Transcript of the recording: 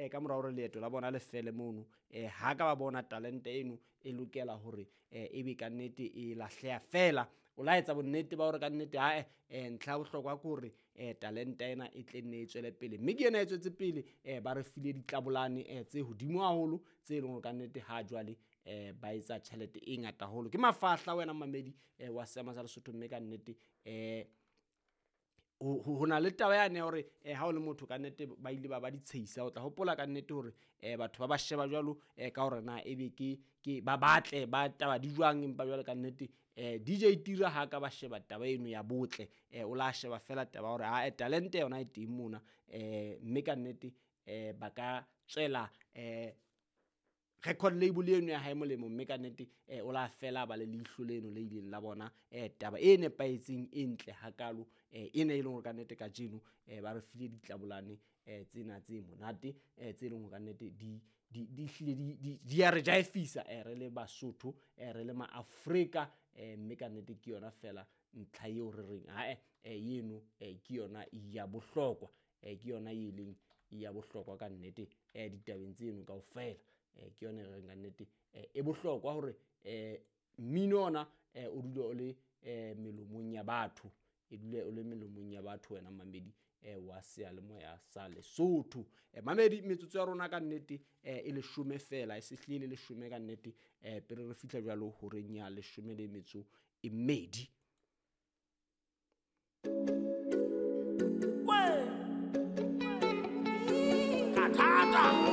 ka mora hore leeto la bona le fele mono, ha ka ba bona talente eno e lokela hore ebe kannete e lahleha fela. O la etsa bonnete ba hore kannete ae, ntlha ya bohlokwa ke hore talente ena e tle nne e tswele pele, mme ke ena e tswetse pele. Ba re file ditlabolane tse hodimo haholo, tse leng hore kannete ha jwale ba etsa tjhelete e ngata haholo. Ke mafahla wena mamedi wa seama sa Lesotho, mme kannete ho na le taba yane ya hore ha o le motho kannete ba ile ba ba ditshehisa. O tla hopola kannete hore batho ba ba sheba jwalo ka hore na ebe ke ba batle ba taba di jwang, empa jwale kannete DJ Tira ha ka ba sheba taba eno ya botle, o la sheba fela taba ya hore ae talente yona e teng mona, mme kannete ba ka tswela record label eno ya hae molemo, mme kannete o la fela ba le leihlo leno le ileng la bona taba e nepahetseng e ntle hakalo, ena e leng hore kannete kajeno ba re file ditlabolane tsena tse monate, tse leng hore kannete di di hlile di ya re jaefisa re le Basotho, re le Maafrika, mme kannete ke yona fela ntlha eo re reng ae, eno ke yona ya bohlokwa, ke yona e leng ya bohlokwa kannete ditabeng tseno kaofela. Ke yona e re reng kannete e bohlokwa hore mmino ona o dule o le melomong ya batho, e dule o le melomong ya batho wena mamedi wa seyalemoya sa Lesotho. Mamedi, metsotso ya rona kannete e leshome fela, e se hlile le leshome kannete, pele re fihla jwalo horeng ya leshome le metso e mmedi. Kathata.